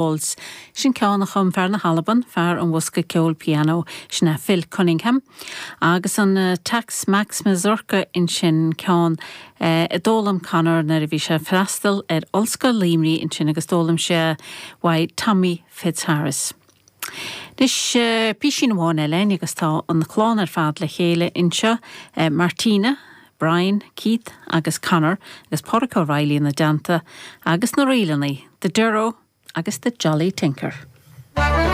Waltz. Sin ceann a chum fear na hAlban, fear an bhosca ceoil pianó, sin é Phil Cunningham. Agus an Tex Mex Mazurka ansin, ceann a d'fhoghlaim Conor nuair a bhí sé ag freastal ar Ollscoil Luimnigh ansin agus d'fhoghlaim sé uaidh Tommy Fitzharris. Anois, písín amháin eile againn agus tá an chlann ar fad le chéile anseo, Martina, Brian, Keith agus Conor agus Pádraic Ó Raghallaigh ina dteannta agus na ríleanna, The Durrow agus The Jolly Tinker.